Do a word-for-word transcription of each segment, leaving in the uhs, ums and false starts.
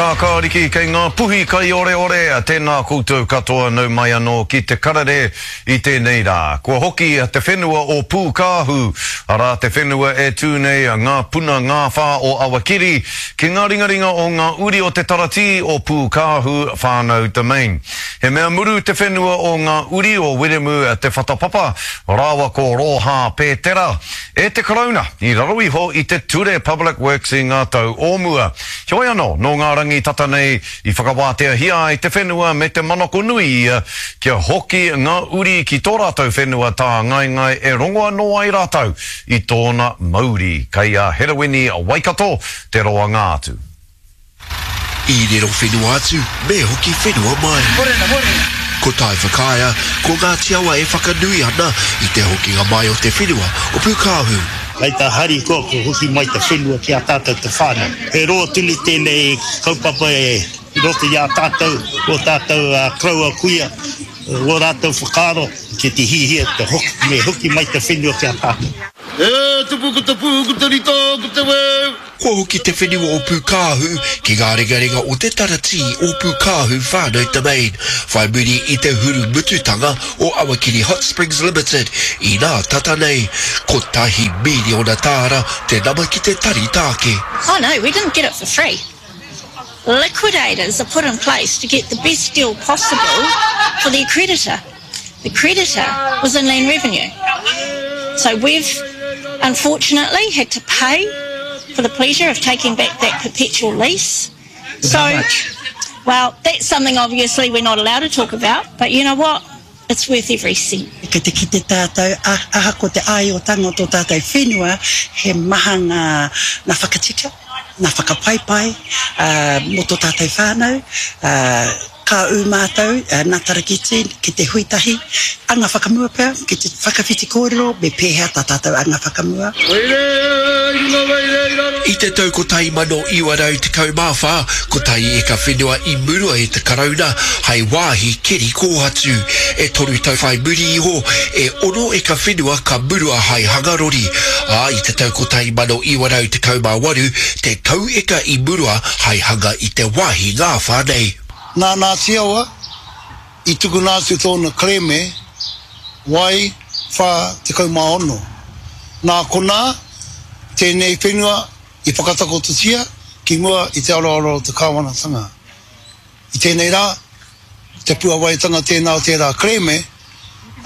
Kākāriki kei ngā puhi kaioreore, tēnā koutou katoa nau mai anō ki te karere i tēnei rā. Kua hoki te whenua o Pūkāhu, arā te whenua e tū nei ngā puna ngāwhā o Awakeri, ki ngā ringaringa o ngā uri o te taratī o Pūkāhu Whānau Domain. He mea muru te whenua o ngā uri o Wiremu Te Whatapapa rāua ko Rōhā Pētera e te Karauna i raro iho i te Ture Public Works i ngā tau o mua. Heoi anō, nō ngā rangi tata nei i whakawāteahia ai te whenua me te manako nui ia kia hoki ngā uri ki tō rātou whenua tāngaengae e rongo anō ai rātou i tōna mauri. Kei a Herewini Waikato te roanga atu. I riro whenua atu, me hoki whenua mai. Morena, morena. Ko Taiwhakaea, ko Ngāti Awa e whakanui ana i te hokinga mai o te whenua o Pūkāhu. Kei te harikoa kua hoki mai te whenua ki a tātou te whānau. He roa tonu tēnei kaupapa e i roto i a tātou, ō tātou koroua kuia, ō rātou whakaaro ki te hihia te hoki, me hoki mai te whenua ki a tātou. E tupu ko te pū, ko te rito, ko te weu. Kua hoki te whenua o Pūkāhu ki ngā ringaringa o te taratī o Pūkāhu Whānau Domain, whai muri i te hurumututanga o Awakeri Hot Springs Limited inā tata nei, kotahi mīriona tāra te nama ki te Tari Taake. Oh no, we didn't get it for free. Liquidators are put in place to get the best deal possible for the creditor. The creditor was Inland Revenue. So we've unfortunately had to pay for the pleasure of taking back that perpetual lease. So, How much? Well, that's something obviously we're not allowed to talk about, but you know what? It's worth every cent. Kei te kite tātou, ahakoa te āiotanga o tō tātou whenua, he maha ngā, ngā whakatika, ngā whakapaipai mō tō tātou whānau. Ka ū mātou, nā Tarakiti, ki te hui tahi, anga whakamua pea, ki te whakawhiti kōrero me pēhea tā tātou anga whakamua. I te tau kotahi mano iwa rau tekau mā whā, kotahi eka whenua i murua e te Karauna hai wāhi keri kōhatu. E toru tau whai muri iho, e ono eka whenua ka murua hai hanga rori, ā, i te tau kotahi mano iwa rau tekau mā waru, tekau eka i murua hai hanga i te wāhi ngāwhā nei. Nā Ngāti Awa i tukuna atu tōna kerēme Wai whā tekau mā ono. Nā konā tēnei whenua i whakatakototia ki mua i te aroaro o te kāwanatanga. I tēnei rā, te puawaitanga tēnā o tērā kerēme,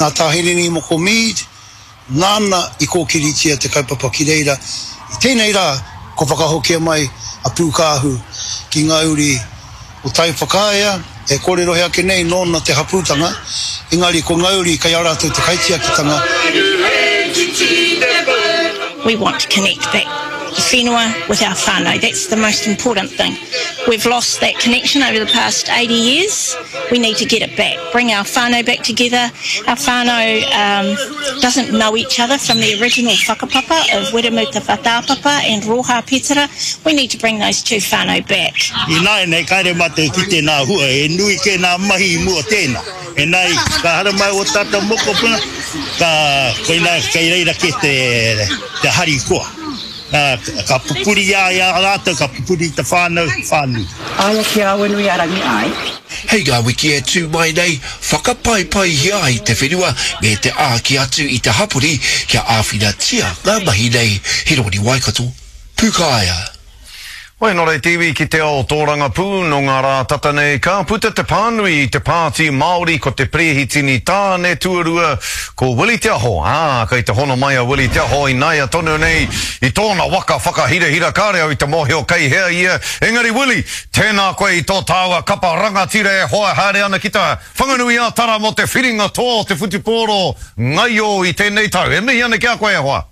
nā Tā Hirini Moko Mead, nāna i kōkiritia te kaupapa ki reira. I tēnei rā, kua whakahokia mai a Pūkāhu ki ngā uri o Taiwhakaea, e kōrerohia ake nei nōna te hapūtanga, engari ko ngā uri kei a rātou te kaitiakitanga. We want to connect back the whenua with our whānau. That's the most important thing. We've lost that connection over the past eighty years. We need to get it back. Bring our whānau back together. Our whānau um, doesn't know each other from the original whakapapa of Wiremu Te Whatapapa and Roha Petera. We need to bring those two whānau back. Ināianei, kāre mātou e kite nā hua, he nui kē nā mahi i mua tēnā. Engari, ka haramai ō tātou mokopuna, ka, koinā, kei reira kē te, te harikoa. Ka pupuri i a rātou, ka pupuri i te whānau whānui. Aia ki Awanuiarangi ai. Hei ngā wiki e tū mai nei, whakapaipaihia ai te whenua me te āki atu i te hapori kia āwhinatia ngā mahi nei. Hironi Waikato, Pūkāea. Wai nō reira te iwi ki te ao tōrangapū, nō ngā rā tata nei ka puta te pānui i te Pāti Māori ko te Perehitini tāne tuarua ko Willie Te Aho, ā, kei te hono mai a Willie Te Aho ināia tonu nei i tōna waka whakahirahira kāre au i te mōhio kei hea ia, engari Willie, tēnā koe i tō tāua kapa rangatira e hoa haere ana ki te Whanganui-ā-Tara mō te whiringa toa o te whutupōro ngaio i tēnei tau. E mihi ana ki a koe e hoa.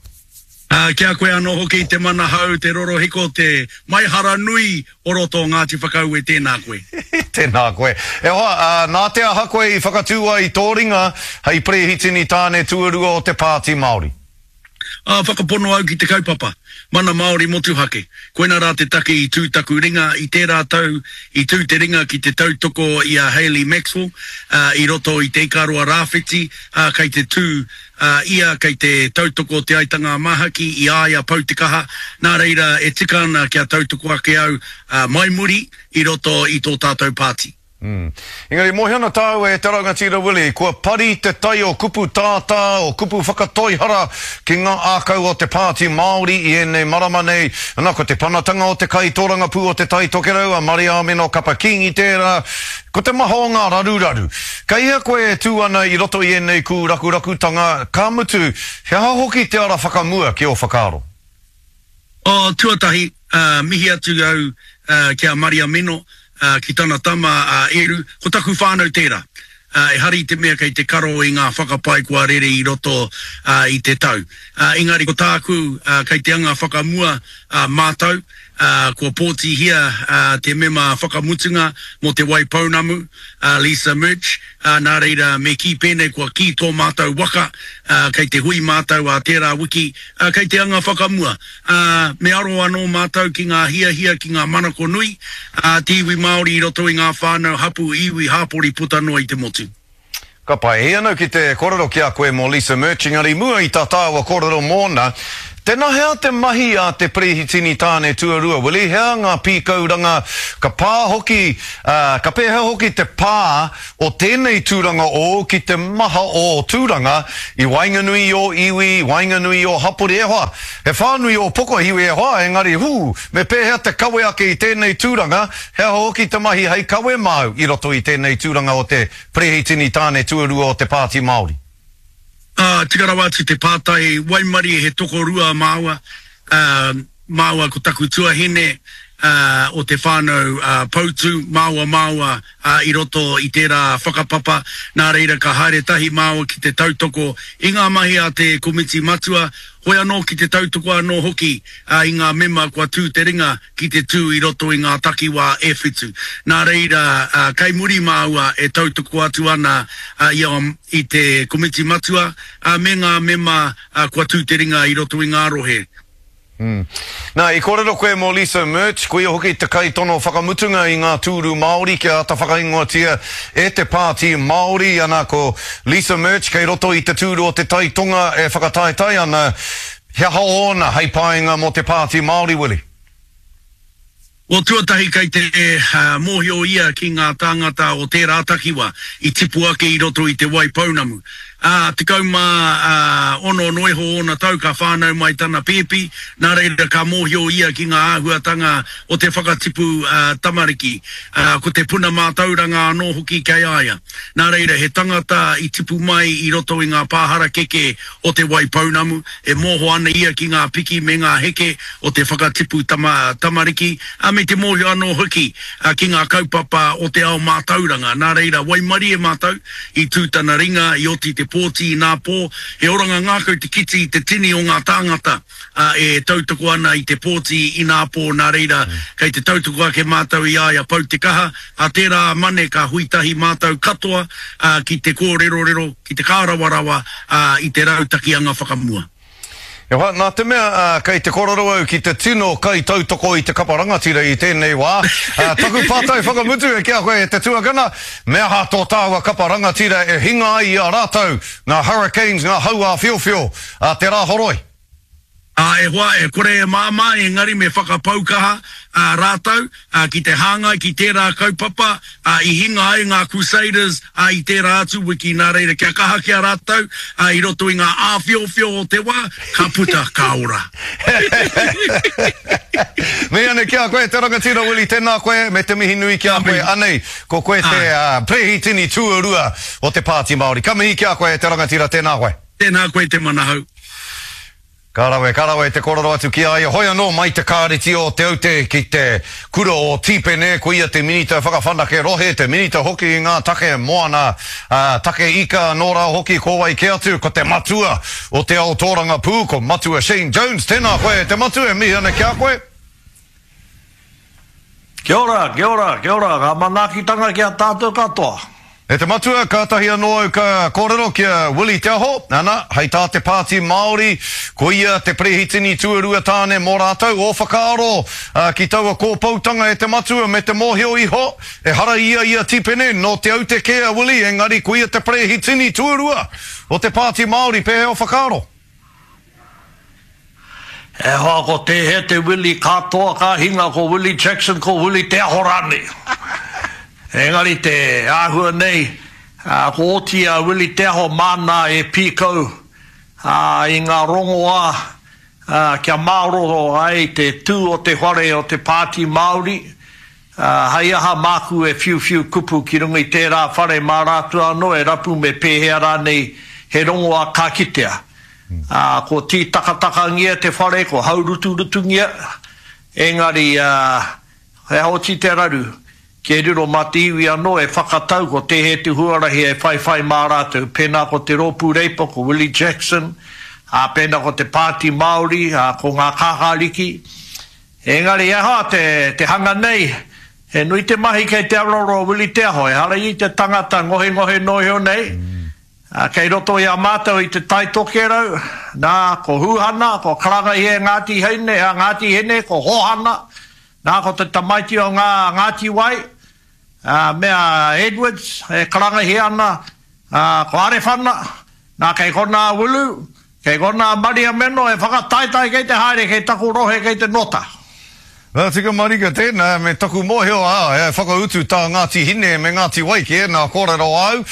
Ā, ki a koe anō hoki te manahau, te rorohiko, te maihara nui o roto o Ngāti Whakaue, tēnā koe. Tēnā koe. E hoa, ā, nā te aha koe i whakatū ai i tō ringa hei perehitini tāne tuarua o te Pāti Māori? Ā, whakapono au ki te kaupapa, Mana Māori Motuhake. Koina rā te take i tū taku ringa i tērā tau, i tū te ringa ki te tautoko i a Hayley Maxwell, ā, i roto i Te Ikaroa Rāwhiti, ā, kei te tū, ā, ia kei te tautoko Te Aitanga-a-Māhaki i a ia pau te kaha, nā reira e tika ana kia tautoko ake au, ā, mai muri i roto i tō tātou pāti. Mm. Engari, mōhio ana tāua e te rangatira Willie, kua pari te tai o kupu tātā, o kupu whakatoihara ki ngā ākau o te Pāti Māori i ēnei marama nei. Ana, ko te panatanga o te kaitōrangapū o Te Tai Tokerau, a Mariāmino Kapa Kīngi tērā, ko te maha o ngā raruraru. Kei hea koe e tū ana i roto i ēnei kūrakurakutanga, ka mutu, he aha hoki te ara whakamua ki ō whakaaro? Oh, tuatahi, mihi atu au ki a Mariameno, ki tana tama a Eru, ko taku whānau tērā. Ehara i te mea kei te karo i ngā whakapae kua rere i roto i te tau. Engari ko tāku, kei te anga whakamua mātou, kua pōtihia te mema whakamutunga mō Te Waipounamu, Lisa Murch, nā reira me kī pēnei kua kī tō mātou waka, kei te hui mātou ā tērā wiki, kei te anga whakamua. Ā, me aro anō mātou ki ngā hiahia, ki ngā manako nui a te iwi Māori i roto i ngā whānau, hapū, iwi, hāpori puta noa i te motu. Ka pai. Hei anau ki te korero ki a koe mō Lisa Murch, engari i mua i tā tāua kōrero mōna, tēnā hea te mahi a te Perehitini tāne tuarua, Willie, hea ngā pīkauranga ka pā hoki, ā, ka pēhea hoki te pā o tēnei tūranga ōu ki te maha o ō tūranga i waenganui i ō iwi, i waenganui i ō hapori, e hoa, he whānui ō pokohiwi e hoa, engari, hū, me pēhea te kawe ake i tēnei tūranga, he aha hoki te mahi hei kawe māu i roto i tēnei tūranga o te Perehitini tāne tuarua o te Pāti Māori? Ā, tika rawa atu te pātai, waimarie he tokorua māua, ā, māua ko taku tuahine, ā, o te whānau ā, Poutu, māua māua, ā, i roto i tērā whakapapa, nā reira ka haere tahi māua ki te tautoko i ngā mahi a te Komiti Matua, hoi anō ki te tautoko anō hoki, ā, i ngā mema kua tū te ringa ki te tū i roto i ngā takiwā e whitu. Nā reira, kei muri māua e tautoko atu ana i a i te Komiti Matua me ngā mema kua tū te ringa i roto i ngā rohe. Mm. Nā, i kōrero koe mō Lisa Murch, koia hoki te kaitono whakamutunga i ngā tūru Māori kia āta whakaingoatia e te Pāti Māori. Ana, ko Lisa Murch kei roto i te tūru o Te Tai Tonga e whakataetae ana. He aha ōna hei painga mō te Pāti Māori, Willie? Well, tuatahi kei te mōhio ia ki ngā tāngata o tērā takiwa i tipu ake i roto i Te Wai Pounamu. Ā, tekau mā ono noa iho ōna tau ka whānau mai tana pēpi, nā reira ka mōhio ia ki ngā āhuatanga o te whakatipu tamariki. Ā, ko te puna mātauranga anō hoki kei a ia. Nā reira, he tangata i tipu mai i roto i ngā pā harakeke o Te Wai Pounamu, e mōho ana ia ki ngā piki me ngā heke o te whakatipu tama, tamariki, ā, me te mōhio anō hoki ki ngā kaupapa o te ao mātauranga. Nā reira, waimarie mātou, i tū tana ringa, i oti te pōti inā pō, he oranga ngākau te kiti i te tini o ngā tāngata, ā, e tautoko ana i te pōti inā pō, nā reira, kei te tautoko ake mātou i a ia pau te kaha, ā tērā Mane ka hui tahi mātou katoa, ā, ki te kōrerorero, ki te kārawarawa, ā, i te rautaki anga whakamua. E hoa, nā te mea, ā, kei te kōrero au ki te tino kaitautoko i te kapa rangatira i tēnei wā, ā, taku pātai whakamutu e ki a koe e te tuakana, me aha tō tāua kapa rangatira e hinga ai i a rātou ngā hurricanes, ngā hau āwhiowhio a te Rāhoroi? Ā, e hoa, e kore e māmā, engari me whakapau kaha, ā, rātou, ā, ki te hāngai ki tērā kaupapa, ā, i hinga ai ngā Crusaders, ā, i tērā atu wiki, nā reira, kia kaha ki a rātou, ā, i roto i ngā āwhiowhio o te wā, ka puta, ka ora. Mihi ana ki a koe, te rangatira Willie, tēnā koe, me te mihi nui ki a koe. Anei, ko koe te, ā, Perehitini tuarua o te Pāti Māori. Ka mihi ki a koe, e te rangatira, tēnā koe. Tēnā koe te manahau. Ka rawe, ka rawe te korero atu ki a ia. Hoi anō mai te kāreti o Te Aute ki te kura o Tīpene, ko ia te Minita Whakawhanake Rohe, te Minita hoki i ngā take moana, ā, take ika anō rā hoki, ko wai kē atu, ko te matua o te ao tōrangapū, ko Matua Shane Jones. Tēnā koe e te matua, e mihi ana ki a koe. Kia ora, kia ora, kia ora, ngā manaakitanga ki a tātou katoa. E te matua, kātahi anō au ka kōrero ki a Willie Te Aho, ana, hei tā te Pāti Māori, ko ia te perehitini tuarua tāne mō rātou, ō whakaaro ki taua kōpoutanga e te matua me te mōhio iho, ehara ia i a Tipene, nō Te Aute kē a Willie, engari ko ia te perehitini tuarua o te Pāti Māori, pēhea ō whakaaro? E hoa ko tēhea te Willie katoa ka hinga ko Willie Jackson ko Willie Te Aho rānei. Engari te āhua nei ko oti a Willie Te Aho māna e pīkau i ngā rongoā kia māroro ai te tū o te whare o te Pāti Māori, hei aha māku e whiuwhiu kupu ki runga i tērā whare mā rātou anō e rapu me pēhea rānei he rongoā ka kitea. Ā, ko tītakatakangia te whare, ko hauruturutungia, engari, ā, he aha oti te raru, kia riro mā te iwi anō e whakatau ko tēhea te huarahi e whaiwhai mā rātou, pēnā ko te Rōpū Reipa, ko Willie Jackson, ā, pēnā ko te Pāti Māori, ā, ko ngā Kākāriki. Engari, he aha te, te hanga nei, he nui te mahi kei te aroaro o Willie Te Aho, ehara ia i te tangata ngohengohe noa iho nei, Ā, kei roto i a mātou i Te Tai Tokerau, nā, ko Hūhana, ko Karangahia e Ngāti Heine, a Ngāti Hine, ko Hōhana, nā, ko te tamaiti o ngā Ngāti Wai, ā, me a Edwards e karangahia ana, ā, ko Arewhana, nā, kei konā a Wulu, kei konā a Mariameno e whakataetae kei te haere kei taku rohe kei te nota. Nā, tika marika tēnā, me taku mōhio, ā, he whakautu tā Ngāti Hine me Ngāti Wai ki ēnā kōrero āu.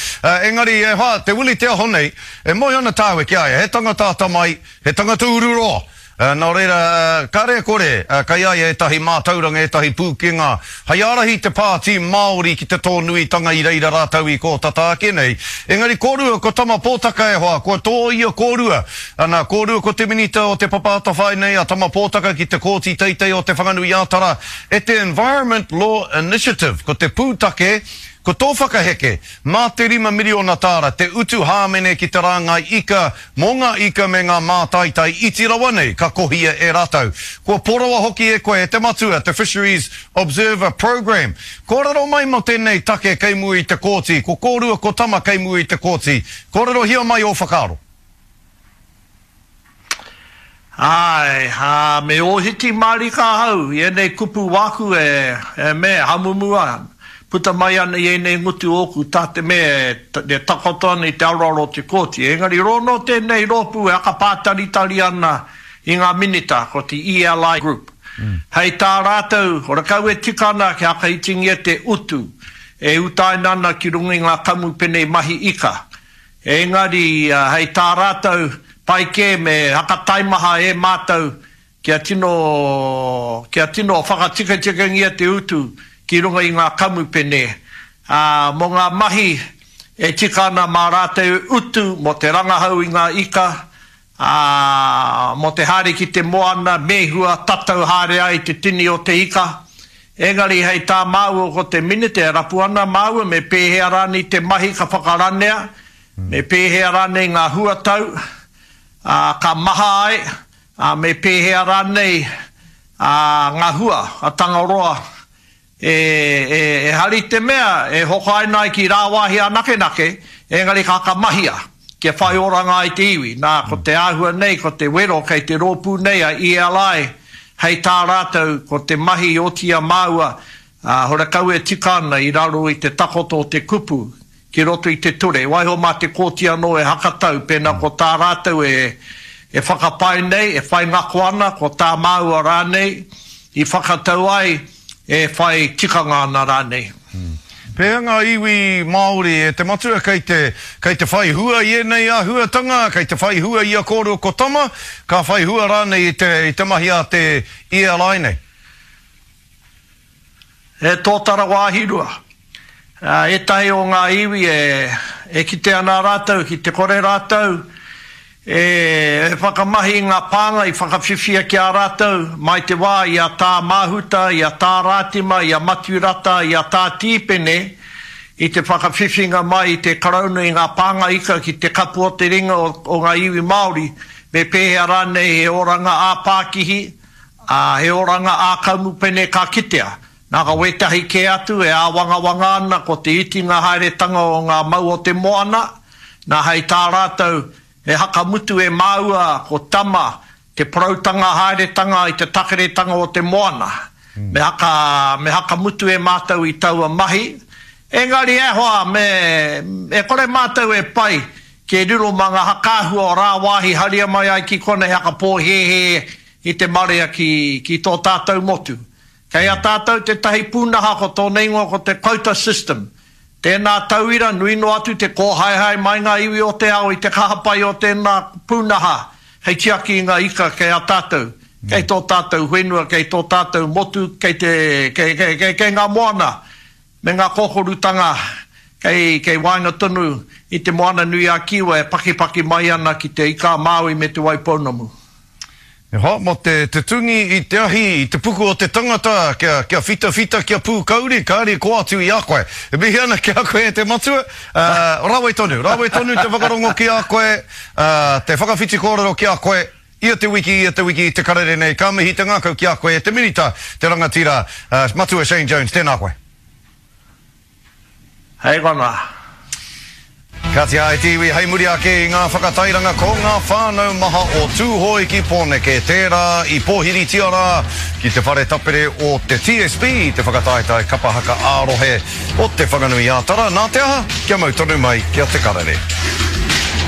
Engari, e hoa, te Willie Te Aho nei, e mōhio ana tāua ki a ia, he tangata atamai, he tangata ururoa. Nā reira, kāre e kore, kei a ia ētahi mātauranga, ētahi pūkenga hei ārahi te Pāti Māori ki te tōnuitanga i reira rātou i kō tata ake nei. Engari kōrua ko Tama Pōtaka e hoa, kua tōia kōrua. Ana, kōrua ko te Minita o Te Papa Atawhai nei a Tama Pōtaka ki te Kōti Teitei o Te Whanganui-ā-Tara e te Environment Law Initiative. Ko te pūtake, ko tō whakaheke, mā te rima miriona tāra te utu hāmene ki te rāngai ika mō ngā ika me ngā mātaitai iti rawa nei ka kohia e rātou. Kua poroa hoki e koe, e te matua, te Fisheries Observer Programme. Kōrero mai mō tēnei take kei mua i te kōti, ko kōrua ko Tama kei mua i te kōti. Kōrerohia mai ō whakaaro. Āe, ā, me ōhiti mārika ahau i ēnei kupu wāku e, e me, hamumu ana, puta mai ana i ēnei ngutu ōku tā te mea e takoto ana i te aroaro o te kōti. Engari rōnō tēnei rōpū e hakapātaritari ana i ngā minita, ko te E L I Group. Hei tā rātou, horekau e tika ana kia whakaitingia te utu e utaina ana ki runga i ngā kamupene mahi ika. Engari, hei tā rātou, pai kē me hakataimaha e mātou kia tino, kia tino whakatikatikangia te utu ki runga i ngā kamupene, ā, mō ngā mahi e tika ana mā rātou utu mō te rangahau i ngā ika, ā, mō te haere ki te moana, mēhua, tatau haere ai te tini o te ika. Engari hei tā māua ko te Minita e rapu ana māua me pēhea rānei te mahi ka whakaranea, me pēhea rānei ngā huatau, ā, ka maha ai, ā, me pēhea rānei, ā, ngā hua a Tangaroa e, e, ehara i te mea e hokaina ai ki rāwāhi anakenake, engari ka whakamahia kia whai oranga ai te iwi. Nā, ko te āhua nei, ko te wero kei te rōpū nei a E L I, hei tā rātou, ko te mahi i oti i a māua, ā, horekau e tika ana i raro i te takoto o te kupu ki roto i te ture. Waiho mā te kōti anō e hakatau, pēnā ko tā rātou e, e whakapae nei, e whai ngako ana, ko tā māua rānei i whakatau ai, e whai tikanga ana rānei. Pēhea ngā iwi Māori e te matua kei te, kei te whai hua i ēnei āhuatanga, kei te whai hua i a kōrua ko Tama, ka whai hua rānei i te, i te mahi a te E L I nei? He tōtara wāhi rua. Ētahi o ngā iwi e, e kite ana rātou ki te kore rātou e whakamahi i ngā pānga i whakawhiwhia ki a rātou mai te wā i a Tā Māhuta, i a Tā Rātima, i a Matiu Rata, i a Tā Tīpene i te whakawhiwhinga mai i te Karauna i ngā pānga ika ki te kapu o te ringa o, o ngā iwi Māori, me pēhea rānei he oranga ā-pākihi, ā, he oranga ā-kamupene ka kitea. Nā ka wētahi kē atu e āwangawanga ana ko te itinga haeretanga o ngā mau o te moana, nā hei tā rātou he hakamutu e māua ko Tama te poroutanga haeretanga i te takeretanga o te moana. Me haka, me hakamutu e mātou i taua mahi. Engari e hoa, me, e kore mātou e pai ki riro mā ngā hakaahua o rāwāhi haria mai ai ki konei hakapōhēhē i te marea ki, ki tō tātou motu. Kei a tātou tētahi pūnaha ko tōna ingoa ko te quota system. Tēnā tauira, nui noa atu te kōhaehae mai ngā iwi o te ao i te kaha pai o tēnā pūnaha hei tiaki i ngā ika kei a tātou, kei tō tātou whenua, kei tō tātou motu, kei te, kei, kei, kei, kei ngā moana me ngā kōkorutanga kei, kei waenga tonu i te Moana nui a Kiwa e pakipaki mai ana ki te Ika a Māui me Te Waipounamu. E hoa, mō te, te tungi i te ahi, i te puku o te tangata, kia, kia whitawhita, kia pūkauri, kāre kō atu i a koe. E mihi ana ki a koe e te matua, uh, rawe tonu, rawe tonu te whakarongo ki a koe, uh, te whakawhiti kōrero ki a koe, ia te wiki, ia te wiki, te karere nei, ka mihi te ngākau ki a koe e te minita, te rangatira, uh, Matua Shane Jones, tēnā koe. Hei kona. Kāti ai te iwi hei muri ake i ngā whakatairanga ko ngā whānau maha o Tūhoe ki Pōneke, tērā i pōhiritia rā ki te whare tapere o te T S B, te whakataetae kapa haka ā-rohe o Te Whanganui-ā-Tara. Nā te aha? Kia mau tonu mai ki a Te Karere.